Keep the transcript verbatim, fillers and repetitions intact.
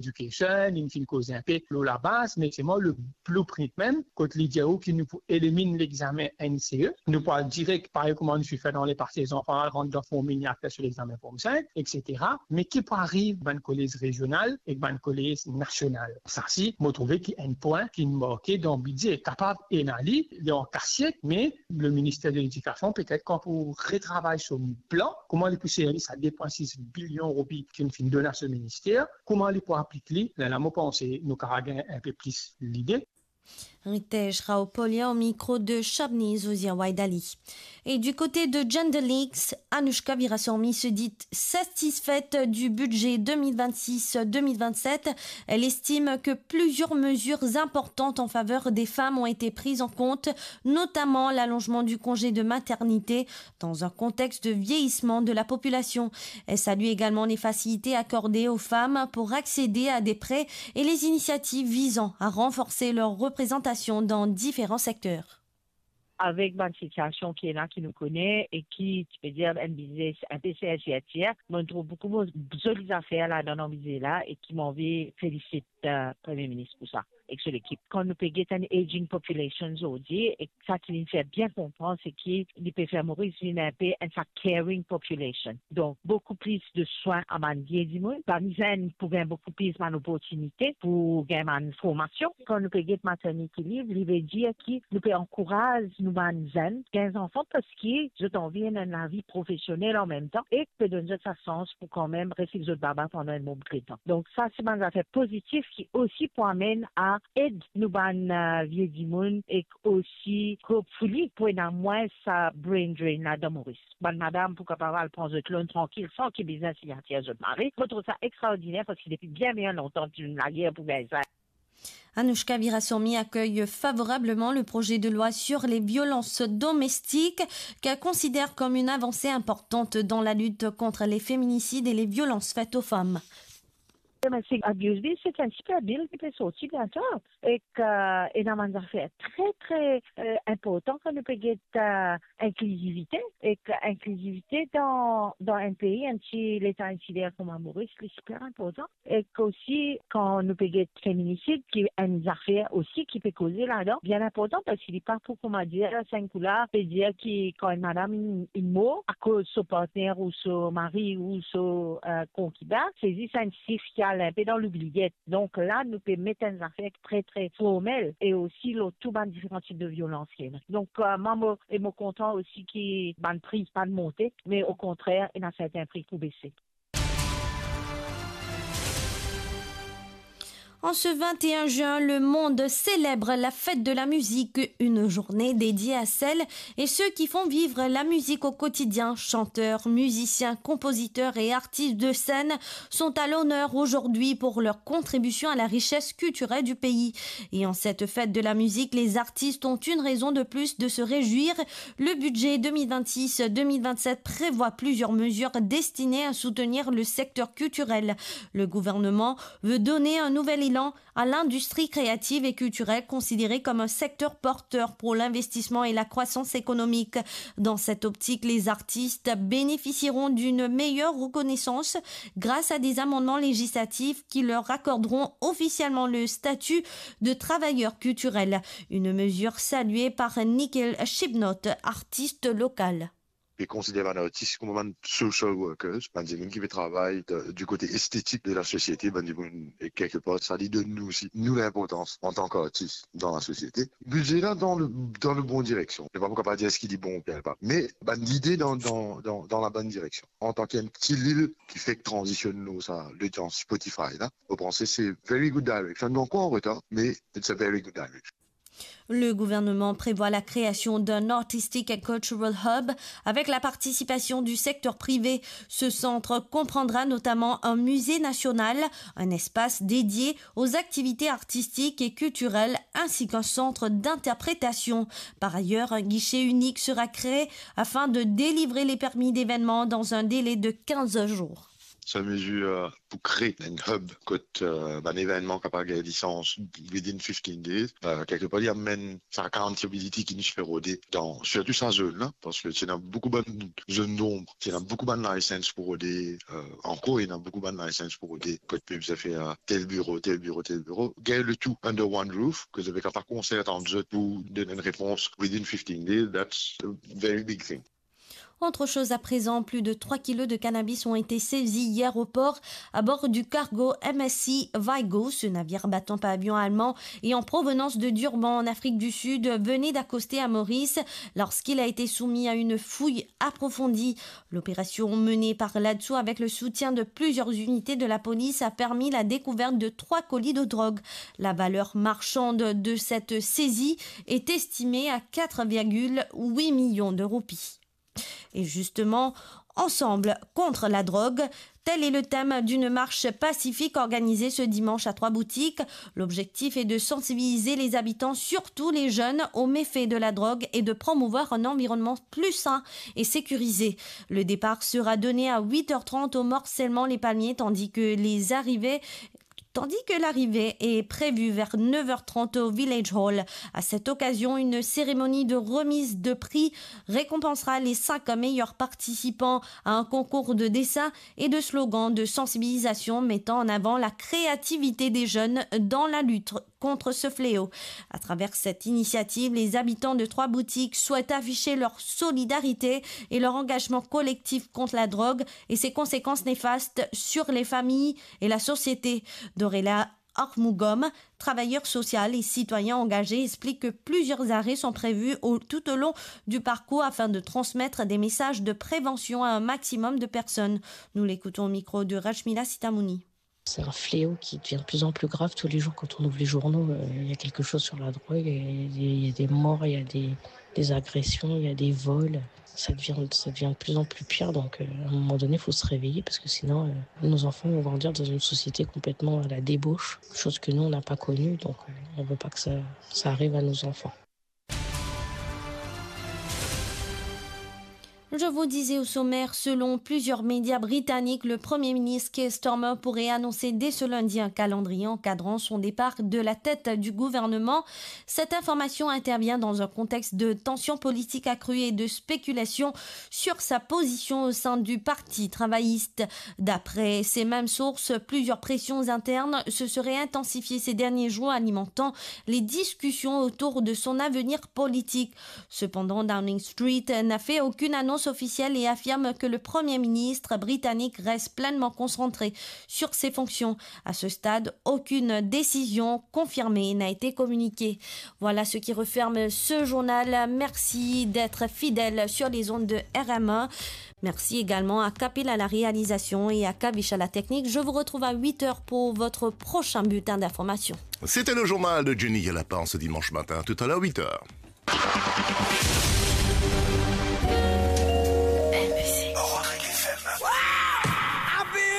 Education, li finn koz inpe lor labaz, me selman le blueprint mem, kot li dir ou ki nou pou elimin lexamen N C E, nou pou al direk, parey kouma nou ti fer dan lepase, zanfan al rant dan Form Mini, al fer so lexamen Form Cinq, et cetera. Me ki pou ariv bann kolez rezional ek bann kolez nasional? Sa si, mo trouve ki enn pwin ki marke dan bidze, kapav ena li, li an kasiet, me le minister de Ledikasion, petet kan pou retravay so plan, kouma li pou servi sa de pwin sis bilion roupi ki finn donn a so minister, kouma li pou aplik li, lerla mo panse nou kapav gagn inpe plis lide. Ritej Raopolia au micro de Shabni Zouzia Waidali. Et du côté de Gender Leaks, Anouchka Viraswamy se dit satisfaite du budget deux mille vingt-six deux mille vingt-sept. Elle estime que plusieurs mesures importantes en faveur des femmes ont été prises en compte, notamment l'allongement du congé de maternité dans un contexte de vieillissement de la population. Elle salue également les facilités accordées aux femmes pour accéder à des prêts et les initiatives visant à renforcer leur représentation dans différents secteurs. Avek bann sitiasion ki ena, ki nou kone e ki, ti pe dir, enn biznes inpe sertirtir, mo trouv boukou mo-, zoli zafer ladan dan biznes la e ki mo anvi felisit, eh, Premie Minis pou sa ek so lekip. Kan nou pe get enn aging population zordi, e sa ki li fer bien konpran, se ki li pe fer Moris vinn inpe enn sa caring population. Donk, boukou plis de swin a bann vie dimoun, bann zenn pou gagn boukou plis bann oportinite pou gagn bann formasion. Kan nou pe get maternity leave, li ve dir ki nou pe ankouraz nou bann zenn gagn zanfan parski zot anvi ena enn lavi profesionel an mem tan e pe donn zot sa sans pou kanmem res ek zot baba pandan enn bon bout letan. Donk sa se bann zafer pozitif ki osi pou amenn a ed nou bann, eh, vie dimoun ek osi, hopefully, pou ena mwins sa brain drain la dan Moris. Bann madam pou kapav al pran zot loan trankil san ki bizin signatir zot mari. Mo trouv sa extraordiner parski depi bien, bien lontan, ti ena lager pou gagn sa. Anouchka Viraswamy accueille favorablement le projet de loi sur les violences domestiques, qu'elle considère comme une avancée importante dans la lutte contre les féminicides et les violences faites aux femmes. Domestic Abuse Bill, se enn siper bil ki pe sorti biento. Ek, eh, ena bann zafer tre, tre, eh, inportan kan nou pe get, eh, inklizivite. Ek inklizivite dan, dan enn pei, enn ti leta insiler kouma Moris, li siper inportan. Ek osi, kan nou pe get feminisid, ki enn zafer osi ki pe koze ladan, bien inportan, parski li pa pou, kouma dir, sa enn kou la, pe dir ki kan enn madam inn, inn mor akoz so partner ou so mari ou so, eh, konkibin, se zis enn sif ki al inpe dan loubliet. Donk la, nou pe met enn zafer tre, tre formel e osi lor tou bann diferan tip de violans ki ena. Donk, eh, mwa, mo, e mo kontan osi ki bann pri pa monte, me okontrer, ena sertin pri pou bese. En ce vingt et un juin, le monde célèbre la fête de la musique, une journée dédiée à celles et ceux qui font vivre la musique au quotidien. Chanteurs, musiciens, compositeurs et artistes de scène sont à l'honneur aujourd'hui pour leur contribution à la richesse culturelle du pays. Et en cette fête de la musique, les artistes ont une raison de plus de se réjouir. Le budget deux mille vingt-six deux mille vingt-sept prévoit plusieurs mesures destinées à soutenir le secteur culturel. Le gouvernement veut donner un nouvel élan à l'industrie créative et culturelle, considérée comme un secteur porteur pour l'investissement et la croissance économique. Dans cette optique, les artistes bénéficieront d'une meilleure reconnaissance grâce à des amendements législatifs qui leur accorderont officiellement le statut de travailleur culturel. Une mesure saluée par Nickel Chibnot, artiste local. Pe konsider bann artis kouma bann social workers, bann dimoun ki pe travay de, du kote estetik de la sosiete, bann dimoun, e kelkepar, sa li donn nou osi, nou, linportans antan ki artis dan la sosiete. Bidze la dan le, dan le bon direksion. Mo pa pou kapav dir eski li bon oubien pa, me bann lide dan, dan, dan, dan la bonn direksion. Antan ki enn ti lil ki fek tranzisionn lor sa, lodians Spotify la, mo panse se very good direction. Nou ankor an retar, me it's a very good direction. Le gouvernement prévoit la création d'un Artistic and Cultural Hub avec la participation du secteur privé. Ce centre comprendra notamment un musée national, un espace dédié aux activités artistiques et culturelles, ainsi qu'un centre d'interprétation. Par ailleurs, un guichet unique sera créé afin de délivrer les permis d'événement dans un délai de quinze jours. Sa mezir, euh, pou kree enn hub kot, euh, bann evennman kapav gagn lisans within fifteen days. Euh, kelke par, li amenn sa accountability ki nou ti pe rode dan, sirtou sa zone la, parski ti ena boukou bann zone d'ombre, ti ena boukou bann license pou rode, euh, ankor, ti ena boukou bann license pou rode, kot pep ti fer tel biro, tel biro, tel biro. Gagn le tou under one roof, ke zot pe kapav konsert ant zot pou donn enn repons within fifteen days, that's a very big thing. Autre chose à présent, plus de trois kilos de cannabis ont été saisis hier au port à bord du cargo M S C Vigo. Ce navire battant pavillon allemand et en provenance de Durban en Afrique du Sud venait d'accoster à Maurice lorsqu'il a été soumis à une fouille approfondie. L'opération menée par l'ADSU avec le soutien de plusieurs unités de la police a permis la découverte de trois colis de drogue. La valeur marchande de cette saisie est estimée à quatre virgule huit millions de roupies. Et justement, ensemble contre la drogue, tel est le thème d'une marche pacifique organisée ce dimanche à Trois-Boutiques. L'objectif est de sensibiliser les habitants, surtout les jeunes, aux méfaits de la drogue et de promouvoir un environnement plus sain et sécurisé. Le départ sera donné à huit heures trente au morcellement Les Palmiers, tandis que les arrivées tandis que l'arrivée est prévue vers neuf heures trente au Village Hall. À cette occasion, une cérémonie de remise de prix récompensera les cinq meilleurs participants à un concours de dessin et de slogans de sensibilisation mettant en avant la créativité des jeunes dans la lutte contre ce fléau. À travers cette initiative, les habitants de Trois-Boutiques souhaitent afficher leur solidarité et leur engagement collectif contre la drogue et ses conséquences néfastes sur les familles et la société. Dorela Armugom, travailleur social et citoyen engagé, explique que plusieurs arrêts sont prévus au, tout au long du parcours afin de transmettre des messages de prévention à un maximum de personnes. Nous l'écoutons au micro de Rachmila Sitamouni. C'est un fléau qui devient de plus en plus grave tous les jours. Quand on ouvre les journaux, euh, il y a quelque chose sur la drogue, et il y a des, il y a des morts, il y a des, des agressions, il y a des vols. Ça devient, ça devient de plus en plus pire, donc, euh, à un moment donné, il faut se réveiller, parce que sinon, euh, nos enfants vont grandir dans une société complètement à la débauche, chose que nous, on n'a pas connue, donc, euh, on veut pas que ça, ça arrive à nos enfants. Je vous disais au sommaire, selon plusieurs médias britanniques, le Premier ministre Keir Starmer pourrait annoncer dès ce lundi un calendrier encadrant son départ de la tête du gouvernement. Cette information intervient dans un contexte de tension politique accrue et de spéculation sur sa position au sein du Parti travailliste. D'après ces mêmes sources, plusieurs pressions internes se seraient intensifiées ces derniers jours, alimentant les discussions autour de son avenir politique. Cependant, Downing Street n'a fait aucune annonce officielle et affirme que le Premier ministre britannique reste pleinement concentré sur ses fonctions. À ce stade, aucune décision confirmée n'a été communiquée. Voilà ce qui referme ce journal. Merci d'être fidèles sur les ondes de R M un. Merci également à Kapil à la réalisation et à Kavish à la technique. Je vous retrouve à huit heures pour votre prochain bulletin d'information. C'était le journal de Jenny Galapin ce dimanche matin, tout à l'heure huit heures.